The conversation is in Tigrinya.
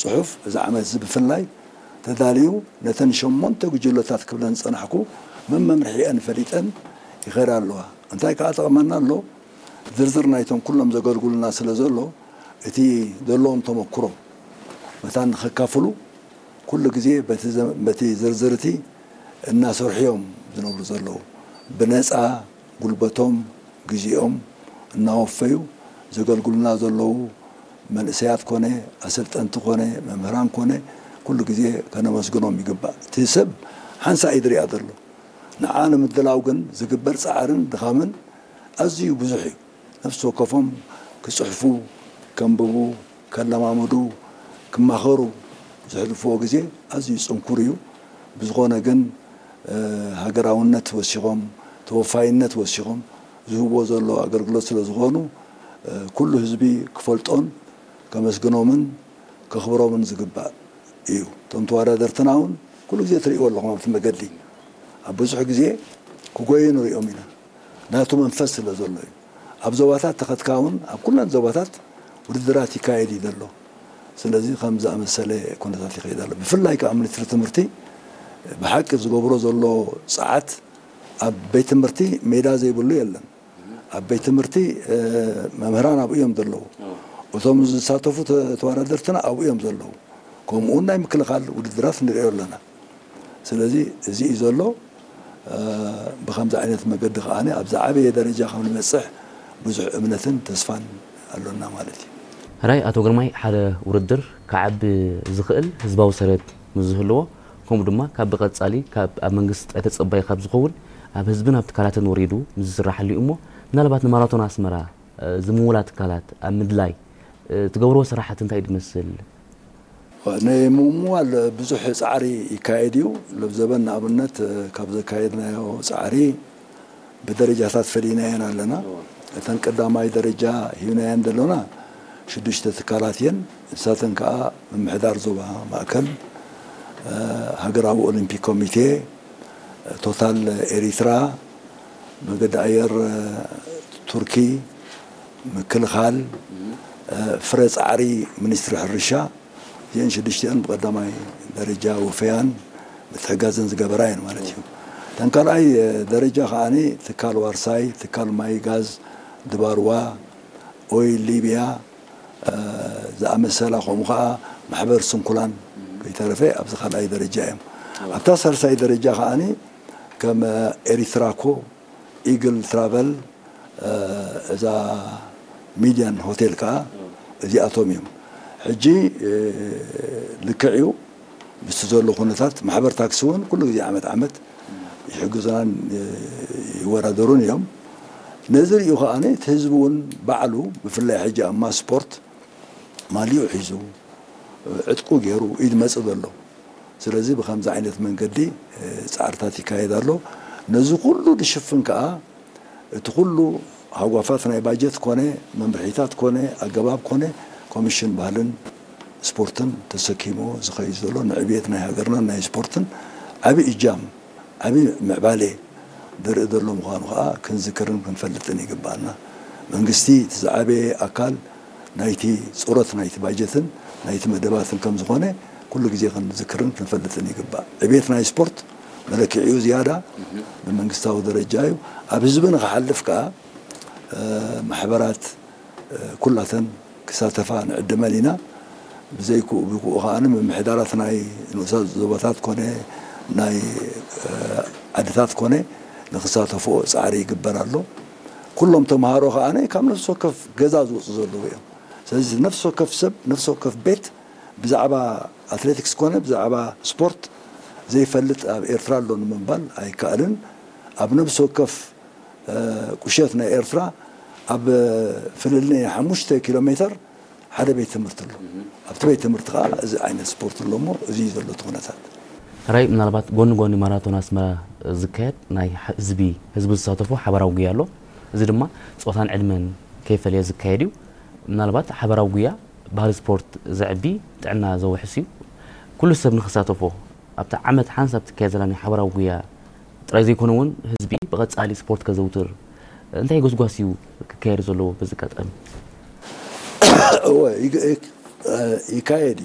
ጽሑፍ እዚ ዓመት እዚ ብፍላይ ተዳልዩ ነተን ሸሞንተ ጉጅለታት ክብለን ዝጸናሕኩ መመምርሒአን ፈሊጠን ይኸዳ ኣለዋ። እንታይ ከኣ ጠቕመና ኣሎ? ዝርዝር ናይቶም ኩሎም ዘገልግሉና ስለ ዘሎ እቲ ዘለዎም ተመክሮ መታን ንኸካፍሉ ኩሉ ግዜ በቲ ዝርዝር እቲ እናሰርሑ እዮም ዝነብሩ ዘለዉ። ብነፃ ጉልበቶም፣ ግዜኦም እናወፈዩ ዘገልግሉና ዘለዉ መንእሰያት ኮነ፣ ኣሰልጠንቲ ኮነ፣ መምህራን ኮነ፣ ኩሉ ግዜ ከነመስግኖም ይግባእ። እቲ ሰብ ሓንሳእ እዩ ዝሪኣ ዘሎ። ንዓ ንምድላው ግን ዝግበር ፃዕርን ድኻምን ኣዝዩ ብዙሕ እዩ። ነፍሲ ወከፎም ክፅሕፉ፣ ከንብቡ፣ ከለማምዱ፣ ክማኸሩ ዘሕልፍዎ ግዜ ኣዝዩ ፅንኩር እዩ። ብዝኾነ ግን ሃገራውነት ወሲኾም፣ ተወፋይነት ወሲኾም ዝህብዎ ዘሎ ኣገልግሎት ስለ ዝኾኑ ኩሉ ህዝቢ ክፈልጦን ከመስግኖምን ከኽብሮምን ዝግባእ እዩ። እቶም ተወዳደርትና እውን ኩሉ ግዜ ትርእይዎ ኣለኹም ኣብቲ መገዲ ኣብ ብዙሕ ግዜ ክጎዩ ንሪኦም ኢና። ናቱ መንፈስ ስለ ዘሎ እዩ። ኣብ ዞባታት ተኸትካ እውን ኣብ ኩለን ዞባታት ውድድራት ይካየድ እዩ ዘሎ። ስለዚ ከም ዝኣመሰለ ኩነታት ይኸይድ ኣሎ። ብፍላይ ከዓ ሚኒስትሪ ትምህርቲ ብሓቂ ዝገብሮ ዘሎ ፃዓት ኣብ ቤት ትምህርቲ ሜዳ ዘይብሉ የለን። ኣብ ቤት ትምህርቲ መምህራን ኣብኡ እዮም ዘለዉ። እቶም ዝሳተፉ ተወዳደርትና ኣብኡ እዮም ዘለዉ። ከምኡ እውን ናይ ምክልኻል ውድድራት ንሪኦ ኣለና። ስለዚ እዚ እዩ ዘሎ። ብከምዚ ዓይነት መገዲ ከዓ ኣብ ዝዓበየ ደረጃ ከም ንበፅሕ ብዙሕ እምነትን ተስፋን ኣሎና ማለት እዩ። ራይ ኣቶ ግርማይ፣ ሓደ ውድድር ክዓቢ ዝኽእል ህዝባዊ ሰረት ምስ ዝህልዎ፣ ከምኡ ድማ ካብ ብቐጻሊ ካብ ኣብ መንግስቲ ጥራይ ተጸባይ ካብ ዝኸውን ኣብ ህዝብን ኣብ ትካላትን ወሪዱ ምስ ዝስራሓሉ እዩ እሞ፣ ምናልባት ንማራቶን ኣስመራ ዝምውላ ትካላት ኣብ ምድላይ ትገብርዎ ስራሓት እንታይ ድመስል? ንምምዋል ብዙሕ ፃዕሪ ይካየድ እዩ። ለብዘበን ንኣብነት ካብ ዘካየድናዮ ፃዕሪ ብደረጃታት ፈሊናየን ኣለና። እተን ቀዳማይ ደረጃ ሂብናየን ዘሎና ሽዱሽተ ትካላት እየን። ንሳተን ከዓ ምምሕዳር ዞባ ማእከል፣ ሃገራዊ ኦሊምፒክ ኮሚቴ፣ ቶታል ኤሪትራ፣ መገዲ ኣየር ቱርኪ፣ ምክልኻል፣ ፍረ ፃዕሪ ሚኒስትሪ ሕርሻ፣ እዚአን ሽዱሽቲአን ብቐዳማይ ደረጃ ወፈያን ምትሕጋዝን ዝገበራ እየን ማለት እዩ። እተን ካልኣይ ደረጃ ከዓኒ ትካል ዋርሳይ፣ ትካል ማይ ጋዝ ድባርዋ፣ ኦይል ሊብያ ዝኣመሰላ፣ ከምኡ ከዓ ማሕበር ስንኩላን ከይተረፈ ኣብዚ ካልኣይ ደረጃ እዮም። ኣብታ ሳልሳይ ደረጃ ከዓኒ ከም ኤሪትራኮ፣ ኢግል ትራቨል፣ እዛ ሚድያን ሆቴል ከዓ እዚኣቶም እዮም። ሕጂ ልክዕ እዩ፣ ምስቲ ዘሎ ኩነታት ማሕበር ታክሲ እውን ኩሉ ግዜ ዓመት ዓመት ይሕግዙናን ይወዳደሩን እዮም። ነዚ ሪኡ ከዓ እቲ ህዝቢ እውን ባዕሉ ብፍላይ ሕጂ ኣብ ማስ ስፖርት ማሊኡ ሒዙ ዕጥቁ ገይሩ እዩ ዝመፅእ ዘሎ። ስለዚ ብከምዚ ዓይነት መንገዲ ፃዕርታት ይካየድ ኣሎ። ነዚ ኩሉ ዝሽፍን ከዓ እቲ ኩሉ ሃጓፋት ናይ ባጀት ኮነ መምርሒታት ኮነ ኣገባብ ኮነ ኮሚሽን ባህልን ስፖርትን ተሰኪሞ ዝኸይድ ዘሎ ንዕብየት ናይ ሃገርናን ናይ ስፖርትን ዓብዪ እጃም ዓብዪ ምዕባሌ ዘርኢ ዘሎ ምዃኑ ከዓ ክንዝክርን ክንፈልጥን ይግባኣና። መንግስቲ እቲ ዝዓበየ ኣካል ናይቲ ፁረት ናይቲ ባጀትን ናይቲ መደባትን ከም ዝኾነ ኩሉ ግዜ ክንዝክርን ክንፈልጥን ይግባእ። ዕብየት ናይ ስፖርት መለክዒኡ ዝያዳ ብመንግስታዊ ደረጃ እዩ። ኣብ ህዝቢ ንክሓልፍ ከዓ ማሕበራት ኩላተን ክሳተፋ ንዕድመን ኢና። ብዘይክኡ ብክኡ ከዓ ምምሕዳራት ናይ ንኡሳት ዞባታት ኮነ ናይ ዓድታት ኮነ ንክሳተፍኦ ፃዕሪ ይግበር ኣሎ። ኩሎም ተምሃሮ ከዓ ካብ ነፍሲ ወከፍ ገዛ ዝወፁ ዘለዉ እዮም። ስለዚ ነፍሲ ወከፍ ሰብ፣ ነፍሲ ወከፍ ቤት ብዛዕባ ኣትሌቲክስ ኮነ ብዛዕባ ስፖርት ዘይፈልጥ ኣብ ኤርትራ ኣሎ ንምባል ኣይከኣልን። ኣብ ነፍሲ ወከፍ ቁሸት ናይ ኤርትራ ኣብ ፍልልይ ሓሙሽተ ኪሎ ሜትር ሓደ ቤት ትምህርቲ ኣሎ። ኣብቲ ቤት ትምህርቲ ከዓ እዚ ዓይነት ስፖርት ኣሎ እሞ እዚ እዩ ዘሎ እቲ ኩነታት። ራይ፣ ምናልባት ጎኒ ጎኒ ማራቶን ኣስመራ ዝካየድ ናይ ህዝቢ ህዝቢ ዝሳተፎ ሓባራዊ ጉያ ኣሎ። እዚ ድማ ፆታን ዕድመን ከይፈለየ ዝካየድ እዩ። ምናልባት ሓባራዊ ጉያ ባህሊ ስፖርት ዘዕቢ፣ ጥዕና ዘውሕስ እዩ። ኩሉ ሰብ ንክሳተፎ ኣብቲ ዓመት ሓንሳብ ትካየድ ዘላ ናይ ሓባራዊ ጉያ ጥራይ ዘይኮነ እውን ህዝቢ ብቐጻሊ ስፖርት ከዘውትር እንታይ ጎስጓስ እዩ ክካየድ ዘለዎ በዚ ኣጋጣሚ? እወ፣ ይግ- ይግ- ይካየድ እዩ።